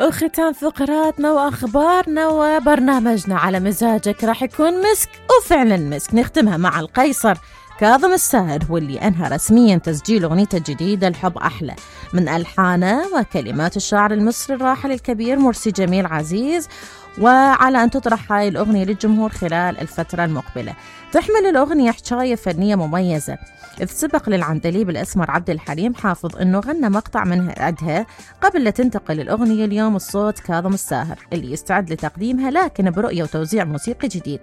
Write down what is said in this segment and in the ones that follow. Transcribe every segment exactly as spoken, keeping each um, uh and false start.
وختام فقراتنا وأخبارنا وبرنامجنا على مزاجك راح يكون مسك، وفعلا مسك. نختمها مع القيصر كاظم الساهر، واللي أنهى رسميا تسجيل أغنيته الجديدة الحب أحلى من ألحانه وكلمات الشاعر المصري الراحل الكبير مرسي جميل عزيز، وعلى أن تطرح هاي الأغنية للجمهور خلال الفترة المقبلة. تحمل الأغنية حكاية فنية مميزة، إذ سبق للعندليب الأسمر عبد الحليم حافظ أنه غنى مقطع من عدها قبل لا تنتقل الأغنية اليوم الصوت كاظم الساهر اللي يستعد لتقديمها، لكن برؤية وتوزيع موسيقي جديد.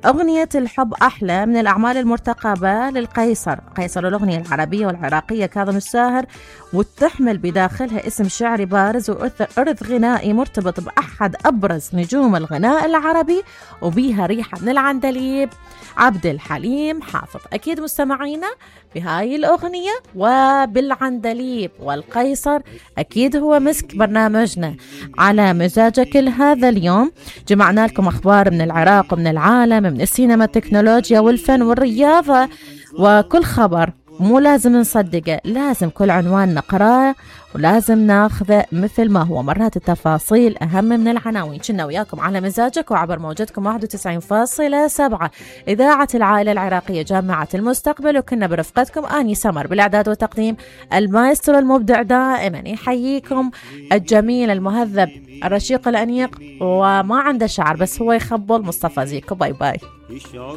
أغنية الحب أحلى من الأعمال المرتقبة للقيصر قيصر الأغنية العربية والعراقية كاظم الساهر، وتحمل بداخلها اسم شعري بارز وإرث غنائي مرتبط بأحد أبرز نجوم الغناء العربي، وبيها ريحة من العندليب عبد الحليم حافظ. أكيد مستمعينا بهاي الأغنية وبالعندليب والقيصر أكيد هو مسك برنامجنا على مزاجك. هذا اليوم جمعنا لكم أخبار من العراق ومن العالم، من السينما، التكنولوجيا والفن والرياضة، وكل خبر مو لازم نصدقه، لازم كل عنوان نقراه ولازم ناخذه مثل ما هو. مرات التفاصيل أهم من العناوين. كنا وياكم على مزاجك وعبر موجتكم واحد وتسعين فاصلة سبعة إذاعة العائلة العراقية جامعة المستقبل، وكنا برفقتكم آني سمر بالإعداد والتقديم، المايسترو المبدع دائما يحييكم الجميل المهذب الرشيق الأنيق وما عنده شعر بس هو يخبل، مصطفى زيكو. باي باي.